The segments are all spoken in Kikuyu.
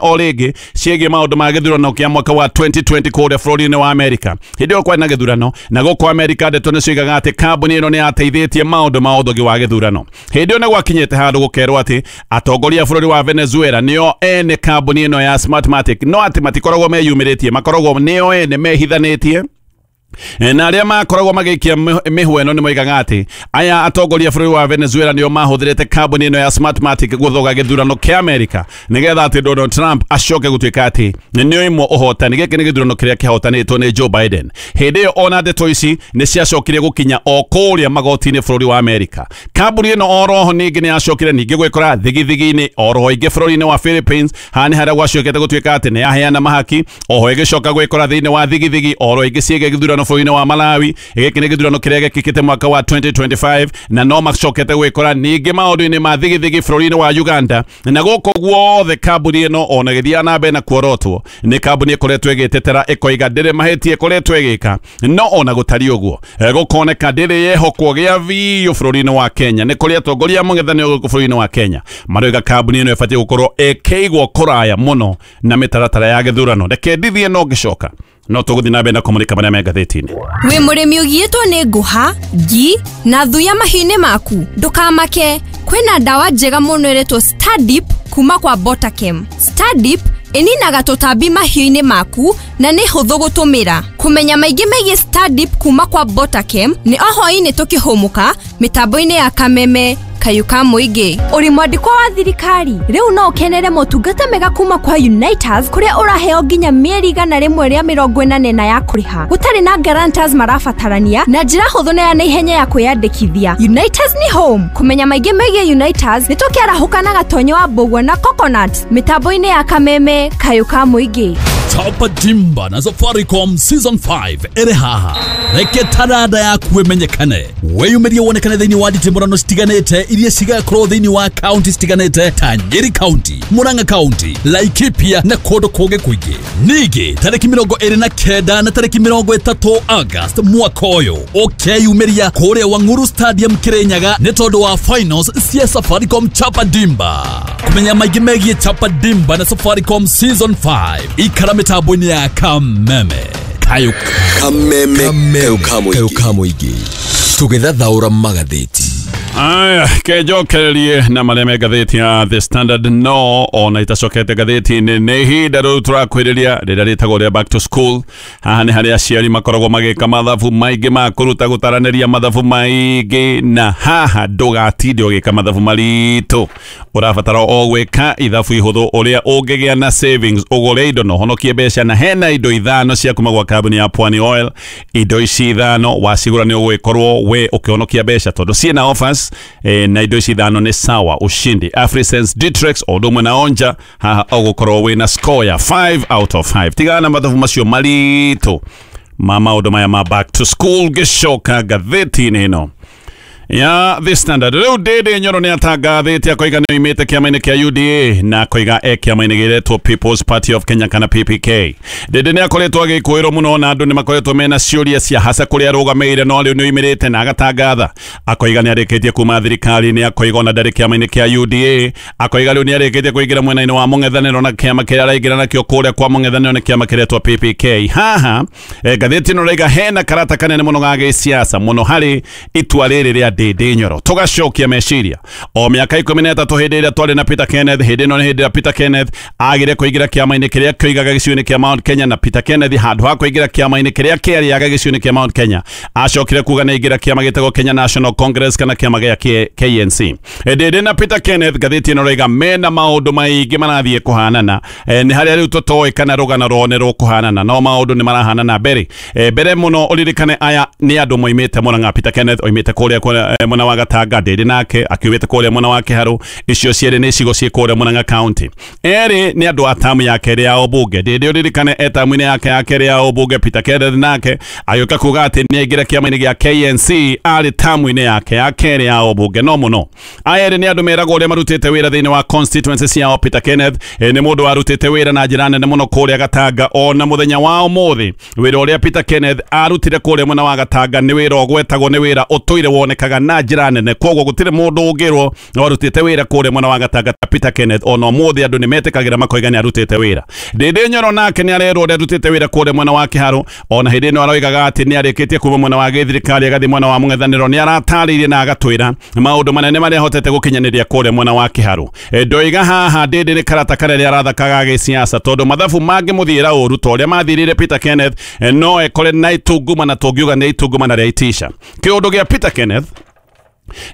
O rĩngĩ ciĩgiĩ maũndũ ma gĩthurano kĩa mwaka wa 2020 kũrĩa bũrũri-inĩ wa Amerika. Hĩndĩ ĩyo kwarĩ na gĩthurano na gũkũ Amerika, ndeto nĩ cioigaga atĩ kambuni ĩno nĩ yateithĩtie maũndũ ma ũthogi wa gĩthurano. Hĩndĩ ĩyo nĩ gwakinyĩte handũ gũkerwo atĩ atongoria a bũrũri wa Venezuela nĩo ene kambuni ĩno ya Smartmatic, no atĩ matikoragwo meyumĩrĩtie, makoragwo nĩo ene mehithanĩtie. Na arĩa makoragwo magĩikia mĩhwa ĩno nĩ moigaga atĩ aya atongoria a bũrũri wa Venezuela nĩo mahũthĩrĩte kambuni ĩno ya Smartmatic gũthoga gĩthurano kĩa Amerika nĩgetha atĩ Donald Trump acoke gũtuĩka atĩ nĩ oimwo ũhotani. Gĩkĩ nĩ gĩthurano kĩrĩa kĩhotanĩtwo nĩ Joe Biden. Hĩndĩ ĩyo ona ndeto ici nĩ ciacokire gũkinya o kũrĩa magoti-inĩ bũrũri wa Amerika. Kambuni ĩno oroho ningĩ nĩ yacokire ningĩ gwĩkora thigithigi-inĩ oroho ingĩ bũrũri-inĩ wa Philippines. Haha nĩ harĩa gwacokete gũtuĩka atĩ nĩ yaheana mahaki. Oho ĩgĩcoka gwĩkora thĩinĩ wa thigithigi oro ingĩ ciĩgiĩ gĩthurano bũrũri-inĩ wa Malawi. Gĩkĩ nĩ gĩthurano kĩrĩa gĩkĩkĩte mwaka wa 2025, na no macokete gwĩkora ningĩ maũndũ-inĩ ma thigithigi bũrũri-inĩ wa Uganda. Na gũkũ guothe kambuni ĩno ona ĩgĩthiaga na mbere na kuorotwo, nĩ kambuni ĩkoretwo ĩgĩtetera, ĩkoiga ndĩrĩ mahĩtia ĩkoretwo ĩgĩka. No ona gũtariĩ ũguo, gũkoneka ndĩrĩ yehokwo gĩa biũ bũrũri-inĩ wa Kenya. Nĩ kũrĩ atongoria mũng'ethanĩro gũkũ bũrũri-inĩ wa Kenya maroiga kambuni ĩno ĩbatiĩ gũkorwo ĩkĩigwo kũraya mũno na mĩtaratara ya gĩthurano. Reke ndithie, no ngĩcoka no tũgũthiĩ na mbere na kũmũrĩka marĩa me ngathĩti-inĩ. Wĩ mũrĩmi ũgiĩtwo nĩ ngũha, ngi na thuya mahiũ-inĩ maku? Ndũkamake, kwĩna ndawa njega mũno ĩretwo Stardip kuma kwa Botakem. Stardip ĩninaga tũtambi mahiũ-inĩ maku na nĩ hũthũ gũtũmĩra. Kũmenya maingĩ megiĩ Stardip kuma kwa Botakem nĩ o hwaĩ-inĩ tũkĩhũmũka mĩtambo-inĩ ya Kameme Kayũ ka Mũingĩ. Ũrĩ mwandĩkwa wa thirikari? Rĩu no ũkenere motungata mega kuma kwa Uniters, kũrĩa ũraheo nginya mĩeri 184 ya kũrĩha gũtarĩ na guarantors marabatarania, na njĩra hũthũ na ya naihenya ya kwĩyandĩkithia. Uniters nĩ home. Kũmenya maingĩ megiĩ Uniters nĩ tũkĩarahũka na Gatonyo wa Mbũgua na Coconut mĩtambo-inĩ ya Kameme Kayũ ka Mũingĩ. Chapa Dimba na Safaricom Season 5 ĩrĩ haha. Reke taranda yaku ĩmenyekane, wĩyumĩrie, wonekane thĩinĩ wa nditimũrano citiganĩte iria cigakorwo thĩinĩ wa kaunti citiganĩte ta Nyeri County, Murang'a County, Laikipia na kũndũ kũngĩ kũingĩ. Ningĩ tarĩki 29 na tarĩki 30 August mwaka ũyũ ũkeyumĩria kũrĩa Wang'uru Stadium, Kirinyaga, nĩ tondũ wa finals cia Safaricom Chapa Dimba. Kũmenya maingĩ megiĩ Chapa Dimba na Safaricom Season 5, ikara mĩtambo-inĩ ya Kameme Kayũ. Kameme Kayo Kamũingĩ, tũgĩthathaũra magathĩti. Aya, kenjokererie na marĩa me ngathĩti ya The Standard. No ona itacokete ngathĩti-inĩ, nĩ ihinda rĩu tũrakwĩrĩria rĩrĩa rĩtagwo rĩa back to school. Haha nĩ harĩa aciari makoragwo magĩka mathabu maingĩ ma kũruta gũtaranĩria mathabu maingĩ, na haha ndũgatinde ũgĩka mathabu maritũ. Ũrabatara o gwĩka ithabu ihũthũ ũrĩa ũngĩgĩa na savings, ũgũre indo na ũhonokie mbeca. Na hena indo ithano cia kuma gwa kambuni ya Pwani Oil. Indo ici ithano wacigũra nĩ ũgũgĩkorwo we ũkĩhonokia mbeca tondũ ciĩna offers. Na indo ici ithano nĩ Sawa, Ushindi, Afrisense, Ditrex o ũndũ ũmwe na Onja. Haha ũgũkorwo wĩna score ya 5 out of 5. Tigana na mathabu macio maritũ ma maũndũ maya ma back to school. Gĩcoka ngathĩti-inĩ ĩno ya The Standard, rĩu Ndĩndĩ Nyoro nĩ atangathĩte akoiga nĩ oimĩte kĩama-inĩ kĩa UDA na akoiga e kĩama-inĩ gĩretwo People's Party of Kenya kana PPK. Ndĩndĩ nĩ akoretwo agĩkũĩrwo mũno na andũ nĩ makoretwo mena ciũria cia haca kũrĩa arũgamĩire, no rĩu nĩ oimĩrĩte na agatangatha akoiga nĩ arĩkĩtie kuma thirikari-inĩ, akoiga ona ndarĩ kĩama-inĩ kĩa UDA, akoiga rĩu nĩ arĩkĩtie kũingĩra mwena-inĩ wa mũng'ethanĩro, na kĩama kĩrĩa araingĩra nakĩo kũrĩa kwa mũng'ethanĩro nĩ kĩama kĩretwo PPK. Haha ngathĩti ĩno raiga hena karata kanene mũno ga gĩsiasa mũno harĩ itua rĩrĩ rĩa Ndĩndĩ Nyoro. Tũgacokia meciria o mĩaka 13 hĩndĩ ĩrĩa twarĩ na Peter Kenneth. Hĩndĩ ĩno nĩ hĩndĩ ĩrĩa Peter Kenneth agire kũingĩra kĩama-inĩ kĩrĩa kĩoigaga gĩcigo-inĩ kĩa Mount Kenya, na Peter Kenneth handũ ha kũingĩra kĩama-inĩ kĩrĩa kĩarĩaga gĩcigo-inĩ kĩa Mount Kenya acokire kuga nĩ aingĩra kĩama gĩtagwo Kenya National Congress kana kĩama gĩa KNC. Ndĩndĩ na Peter Kenneth, ngathĩti ĩno raiga mena maũndũ maingĩ marathiĩ kũhanana. Nĩ harĩa rĩu tũtoĩ kana rũgano rwao nĩ rũkũhanana, no maũndũ nĩ marahanana. Mbere mũno ũririkane aya nĩ andũ moimĩte Murang'a. Peter Kenneth oimĩte kũrĩa mwena wa Gatanga, Ndĩndĩ nake akiumĩte kũrĩa mwena wa Kĩharũ. Icio cierĩ nĩ icigo ciĩ kũrĩa Murang'a County. Erĩ nĩ andũ a tamu ya kerĩ ya ũmbunge. Ndĩndĩ ũririkane e tamu-inĩ yake ya kerĩ ya ũmbunge. Peter Kenneth nake agĩũka kuga atĩ nĩ aingĩra kĩama-inĩ gĩa KNC arĩ tamu-inĩ yake ya kerĩ ya ũmbunge. No mũno aya erĩ nĩ andũ meragwo ũrĩa marutĩte wĩra thĩinĩ wa constituency ciao. Peter Kenneth nĩ mũndũ warutĩte wĩra na njĩra nene mũno kũrĩa Gatanga. Ona mũthenya wa ũmũthĩ wĩra ũrĩa Peter Kenneth arutire kũrĩa mwena wa Gatanga nĩ wĩra ũgwetagwo, nĩ wĩra ũtũire wonekaga. Gatanga na njĩra nene. Koguo gũtirĩ mũndũ ũngĩrwo warutĩte wĩra kũrĩa mwena wa Gatanga ta Peter Kenneth, ona ũmũthĩ andũ nĩmetĩkagĩra makoiga nĩarutĩte wĩra. Ndĩndĩ Nyoro nake nĩarerwo ũrĩa arutĩte wĩra kũrĩa mwena wa Kĩharũ, ona hĩndĩ ĩno aroigaga atĩ nĩarĩkĩtie kuma mwena wa gĩthirikari agathiĩ mwena wa mũng'ethanĩro. Nĩaratarĩirie na agatwĩra maũndũ manene marĩa ahotete gũkinyanĩria kũrĩa mwena wa Kĩharũ. Ndoiga haha Ndĩndĩ nĩ karata karĩa arathakaga gĩsiasa, tondũ mathabu mangĩmũthiĩra ũru ta ũrĩa mathirire Peter Kenneth, no ekore na itungumana, tũngiuga nĩ itungumana rĩa itisha. Kĩũndũ gĩa Peter Kenneth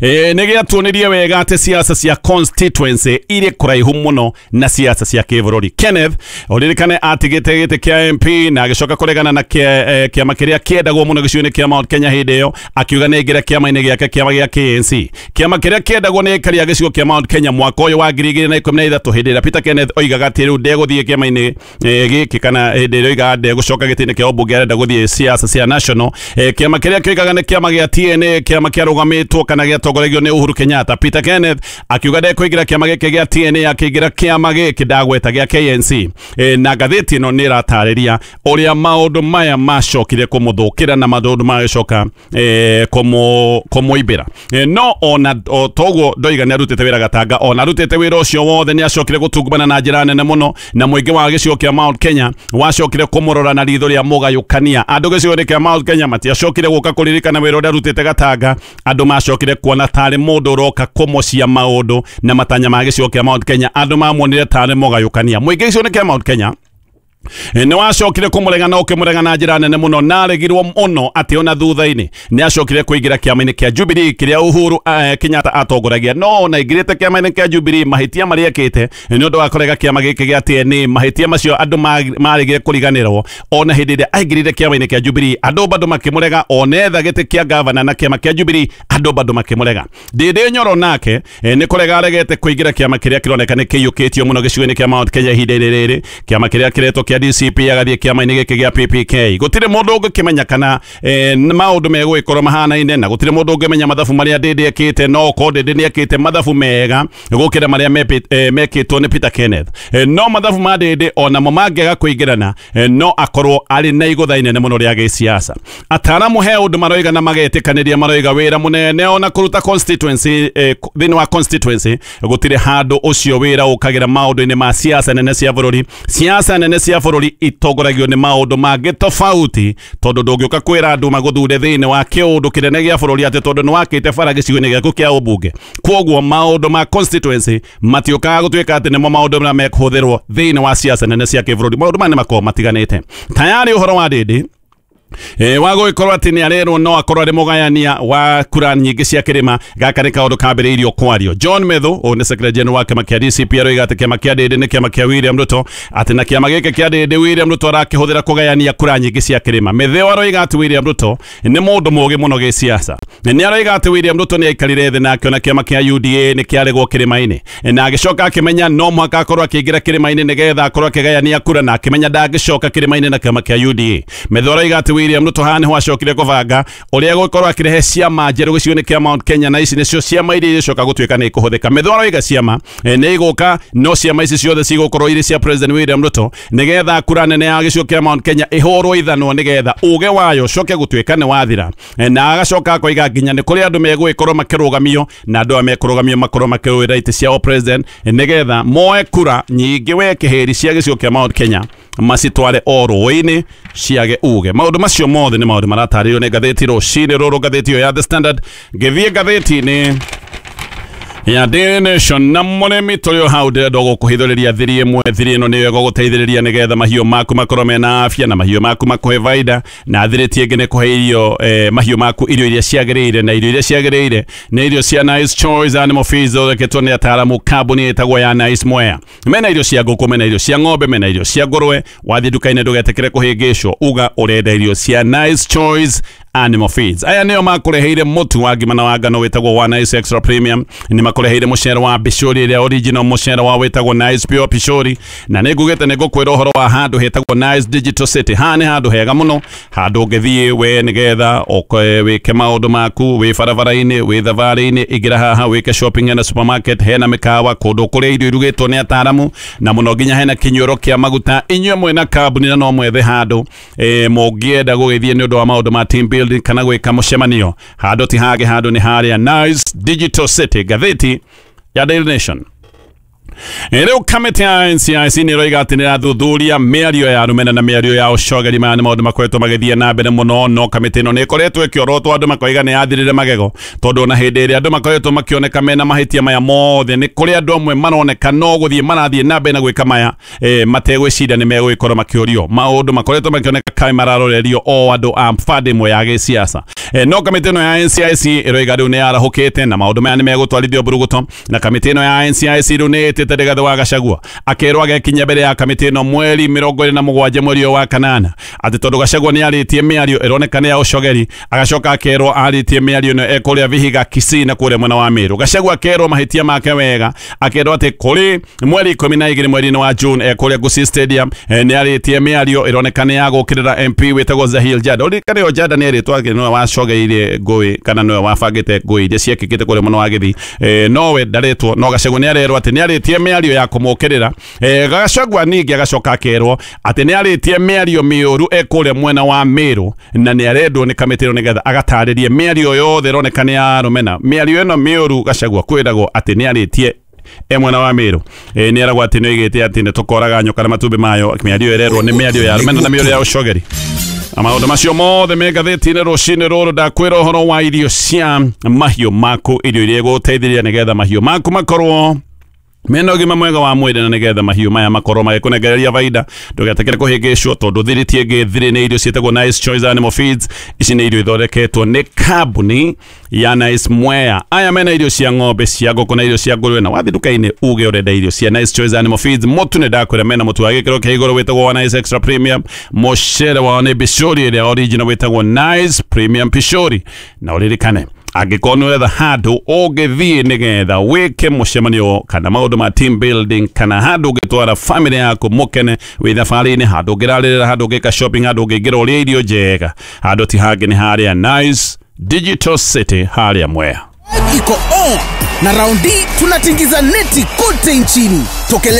nĩ gĩatuonirie wega atĩ siasa cia constituency irĩ kũraihu mũno na siasa cia kĩbũrũri. Kenneth ũririkane atigĩte gĩtĩ kĩa MP na agĩcoka kũregana na kĩama kĩrĩa kĩendagwo mũno gĩcigo-inĩ kĩa Mount Kenya hĩndĩ ĩyo, akiuga nĩ aingĩre kĩama-inĩ gĩake, kĩama gĩa KNC, kĩama kĩrĩa kĩendagwo nĩ aikari a gĩcigo kĩa Mount Kenya mwaka ũyũ wa 2013, hĩndĩ ĩrĩa Peter Kenneth oigaga atĩ rĩu ndegũthiĩ kĩama-inĩ gĩkĩ, kana hĩndĩ ĩrĩa oigaga ndegũcoka gĩtĩ-inĩ kĩa ũmbunge, arenda gũthiĩ siasa cia national. Kĩama kĩrĩa kĩoigaga nĩ kĩama gĩa TNA, kĩama kĩarũgamĩtwo kana gĩatongoragio nĩ Uhuru Kenyatta. Peter Kenneth akiuga ndekũingĩra kĩama gĩkĩ gĩa TNA, akĩingĩra kĩama gĩkĩ ndagweta gĩa KNC. Na ngathĩti ĩno nĩ ĩratarĩria ũrĩa maũndũ maya macokire kũmũthũkĩra na maũndũ magĩcoka kũmũimbĩra. No ona o toguo ndoiga nĩ arutĩte wĩra Gatanga, ona arutĩte wĩra ũcio wothe nĩ acokire gũtungumana na njĩra nene mũno, na mũingĩ wa gĩcigo kĩa Mount Kenya wacokire kũmũrora na ritho rĩa mũgayũkania. Andũ gĩcigo-inĩ kĩa Mount Kenya matiacokire gũka kũririkana wĩra ũrĩa arutĩte Gatanga, andũ macokire kuona tarĩ mũndũ ũroka kũmocia maũndũ na matanya ma gĩcigo kĩa Mount Kenya. Andũ mamuonire tarĩ mũgayũkania. Mũingĩ gĩcigo-inĩ kĩa Mount Kenya nĩ wacokire kũmũrega na ũkĩmũrega na njĩra nene mũno, na aregirwo mũno atĩ ona thutha-inĩ nĩ acokire kũingĩra kĩama-inĩ kĩa Jubilee kĩrĩa Uhuru Kenyatta atongoragia. No ona aingĩrĩte kĩama-inĩ kĩa Jubilee, mahĩtia marĩa ekĩte nĩ ũndũ wa kũrega kĩama gĩkĩ gĩa TNA, mahĩtia macio andũ maregire kũriganĩrwo. Ona hĩndĩ ĩrĩa aingĩrire kĩama-inĩ kĩa Jubilee andũ bado makĩmũrega, ona etha gĩtĩ kĩa gavana na kĩama kĩa Jubilee andũ bado makĩmũrega. Ndĩndĩ Nyoro nake nĩ kũrega aregete kũingĩra kĩama kĩrĩa kĩroneka nĩ kĩiyũkĩtio mũno gĩcigo-inĩ kĩa Mount Kenya ihinda-inĩ rĩrĩ, kĩama kĩrĩa kĩretwo kĩa DCP, agathiĩ kĩama-inĩ gĩkĩ gĩa PPK. Gũtirĩ mũndũ ũngĩkĩmenya kana maũndũ megũgĩkorwo mahanaine, na gũtirĩ mũndũ ũngĩmenya mathabu marĩa Ndĩndĩ ekĩte, no okorwo Ndĩndĩ nĩ ekĩte mathabu mega gũkĩra marĩa mekĩtwo nĩ Peter Kenneth. No mathabu ma Ndĩndĩ onamo mangĩaga kũingĩrana, no akorwo arĩ na igũtha inene mũno rĩa gĩsiasa. Ataaramu he ũndũ maroiga na magetĩkanĩria, maroiga wĩra mũnene ona kũruta constituency, thĩinĩ wa constituency gũtirĩ handũ ũcio wĩra ũkagĩra maũndũ-inĩ ma siasa nene cia bũrũri. Siasa nene cia bũrũri itongoragio nĩ maũndũ mangĩ tofauti, tondũ ndũngĩũka kwĩra andũ magũthure thĩinĩ wa kĩũndũ kĩnene gĩa bũrũri atĩ tondũ nĩwakĩte bara gĩcigo-inĩ gĩaku kĩa ũmbunge. Kwoguo maũndũ ma constituency matiũkaga gũtuĩka atĩ nĩmo maũndũ marĩa mekũhũthĩrwo thĩinĩ wa siasa nene cia kĩbũrũri. Maũndũ maya nĩmakoragwo matiganĩte. Tayari ũhoro wa Ndĩndĩ wa gũgĩkorwo atĩ nĩ arerwo no akorwo arĩ mũgayania wa kura nyingĩ cia kĩrĩma, gaka nĩ kaũndũ kambĩrĩirio kwario. John Methu, ũyũ nĩ secretary general wa kĩama kĩa DCP, aroiga atĩ kĩama kĩa Ndĩndĩ nĩ kĩama kĩa William Ruto, atĩ na kĩama gĩkĩ kĩa Ndĩndĩ William Ruto arakĩhũthĩra kũgayania kura nyingĩ cia kĩrĩma. Methu aroiga atĩ William Ruto nĩ mũndũ mũũgĩ mũno gĩsiasa. Nĩ aroiga atĩ William Ruto nĩ aikarire thĩ na akĩona kĩama kĩa UDA nĩ kĩaregwo kĩrĩma-inĩ, na agĩcoka akĩmenya no mũhaka akorwo akĩingĩra kĩrĩma-inĩ nĩgetha akorwo akĩgayania kura, na akĩmenya ndangĩcoka kĩrĩma-inĩ na kĩama kĩa UDA. Methu aroiga atĩ William Ruto haha nĩho acokire kũbanga ũrĩa gũkorwo akĩrehe ciama njerũ gĩcigo-inĩ kĩa Mount Kenya, na ici nĩcio ciama iria igĩcoka gũtuĩka nĩ ikũhũthĩka. Methu aroiga ciama nĩ igũka, no ciama ici ciothe cigũkorwo irĩ cia President William Ruto nĩgetha kura nene ya gĩcigo kĩa Mount Kenya ĩhũrwo ithanwa nĩgetha ũge wayo ũcoke gũtuĩka nĩ wathira. Na agacoka akoiga nginya nĩ kũrĩ andũ megũgĩkorwo makĩrũgamio, na andũ aya mekũrũgamio makorwo makĩrũĩra itĩ cia president nĩgetha moe kura nyingĩ we kĩhĩri cia gĩcigo kĩa Mount Kenya macitware o rũĩ-inĩ ciage uge. Maũndũ macio mothe nĩ maũndũ maratarĩrio nĩ ngathĩti rũcinĩ rũrũ, ngathĩti ĩyo ya The Standard. Ngĩthiĩ ngathĩti-inĩ ya Daily Nation, na mũrĩmi tũrĩ o hau ndĩrenda gũkũhithũrĩria thiri ĩmwe. Thiri ĩno nĩyo ĩgũgũteithĩrĩria nĩgetha mahiũ maku makorwo mena afya na mahiũ maku makũhe baida, na thiri ti ĩngĩ nĩ kũhe irio mahiũ maku irio iria ciagĩrĩire, na irio iria ciagĩrĩire nĩ irio cia Nice Choice Animal Feeds thondeketwo nĩ ataaramu kambuni ĩtagwo ya Nice Mwea. Mena irio cia ngũkũ, mena irio cia ng'ombe, mena irio cia ngũrwe. Wathiĩ nduka-inĩ ndũgetĩkĩre kũhĩngĩcwo, uga ũrenda irio cia Nice Choice Animal Feeds. Aya nĩo makũreheire mũtu wa ngima na wa ngano wĩtagwo wa Nice Extra Premium, nĩ makũreheire mũcere wa Pishori ĩrĩa original, mũcere wa wĩtagwo Nice Pure Pishori, na nĩ ngugĩte nĩ ngũkwĩra ũhoro wa handũ hetagwo Nice Digital City. Haha nĩ handũ hega mũno, handũ ũngĩthiĩ we nĩgetha wĩke maũndũ maku wĩ barabara-inĩ, wĩ thabarĩ-inĩ, ingĩra haha wĩke shopping hena supermarket, hena mĩkawa, kũndũ kũrĩa irio irugĩtwo nĩ ataaramu, na mũno nginya hena kĩnyuĩro kĩa maguta. Inyuĩ mwĩna kambuni na no mwethe handũ mũngĩenda gũgĩthiĩ nĩ ũndũ wa maũndũ ma team building, building kana gwĩka mũcemanio, handũ ti hangĩ, handũ nĩ harĩa Nice Digital City. Ngathĩti ya Daily Nation. Rĩu kamĩtĩ ya NCIC nĩ ĩroiga atĩ nĩ ĩrathuthuria mĩario ya rũmena na mĩario ya ũcogeri. Maya nĩ maũndũ makoretwo magĩthiĩ na mbere mũno, no kamĩtĩ ĩno nĩ ĩkoretwo ĩkĩorotwo, andũ makoiga nĩ yathirire magego, tondũ ona hĩndĩ ĩrĩa andũ makoretwo makĩoneka mena mahĩtia maya mothe, nĩ kũrĩ andũ amwe maroneka no gũthiĩ marathiĩ na mbere na gwĩka maya mategwĩciria nĩ megũgĩkorwo makĩũrio. Maũndũ makoretwo makĩoneka kaĩ mararorerio o andũ a bande ĩmwe ya gĩsiasa. No kamĩtĩ ĩno ya NCIC ĩroiga rĩu nĩ yarahũkĩte na maũndũ maya nĩ megũtwarithio mburuguto, na kamĩtĩ ĩno ya NCIC rĩu nĩ ĩtĩte Rigathĩ wa Gachagua akerwo agekinya mbere ya kamĩtĩ ĩno mweri 27 mweri ũyũ wa kanana, atĩ tondũ Gachagua nĩ arĩtie mĩario ĩroneka nĩ ya ũcogeri, agacoka akerwo arĩtie mĩario ĩno ekũrĩa Vihiga, Kisii na kũrĩa mwena wa Meru. Gachagua akerwo mahĩtia make wega, akerwo atĩ kũrĩ mweri 12 mweri-inĩ wa June ekũrĩa Gusii Stadium nĩ arĩtie mĩario ĩroneka nĩ ya gũkĩrĩra MP wĩtagwo Zahil Jada. Ũririkane o Jada nĩ erĩtwo atĩ nĩwe wacogeire ngũĩ kana nĩwe wabangĩte ngũĩ iria ciekĩkĩte kũrĩa mwena wa Gĩthii, nowe ndarĩtwo, no Gachagua nĩ arerwo atĩ nĩ arĩtie mĩario ya kũmũkĩrĩra. Gachagua ningĩ agacoka akerwo atĩ nĩ arĩtie mĩario mĩũru ekũrĩa mwena wa Meru, na nĩ arendwo nĩ kamĩtĩ ĩno nĩgetha agatarĩrie mĩario yothe ĩroneka nĩ ya rũmena. Mĩario ĩno mĩũru Gachagua kwĩragwo atĩ nĩ arĩtie mwena wa Meru, nĩ eragwo atĩ nĩ oigĩte atĩ nĩ tũkoraga nyoka na matumbĩ mayo. Mĩario ĩrerwo nĩ mĩario ya rũmena na mĩario ya ũcogeri. Na maũndũ macio mothe me ngathĩti-inĩ rũcinĩ rũrũ. Ndakwĩra ũhoro wa irio cia mahiũ maku, irio iria igũgũteithĩrĩria nĩgetha mahiũ maku makorwo mena ũgima mwega wa mwĩrĩ, na nĩgetha mahiũ maya makorwo magĩkũnengereria baida. Ndũgetĩkĩre kũhĩngĩcwo tondũ thiri ti ĩngĩ, thiri nĩ irio ciĩtagwo Nice Choice Animal Feeds. Ici nĩ irio ithondeketwo nĩ kambuni ya Nice Mwea. Aya mena irio cia ng'ombe, cia ngũkũ na irio cia ngũrwe, na wathiĩ nduka-inĩ uge ũrenda irio cia Nice Choice Animal Feeds. Mũtu nĩ ndakwĩra mena mũtu wa gĩkĩro kĩa igũrũ wĩtagwo wa Nice Extra Premium, mũcere wao nĩ bishori ĩrĩa original wĩtagwo Nice Premium Pishori. Na ũririkane angĩkorwo nĩ ũretha handũ ũngĩthiĩ nĩgetha wĩke mũcemanio kana maũndũ ma team building, kana handũ ũngĩtwara family yaku mũkene wĩ thabarĩ-inĩ, handũ ũngĩrarĩrĩra, handũ ũngĩka shopping, handũ ũngĩingĩra ũrĩe irio njega, handũ ti hangĩ nĩ harĩa Nice Digital City harĩa Mwea. Iko on na raundi tunatingiza neti kote nchini. Tokele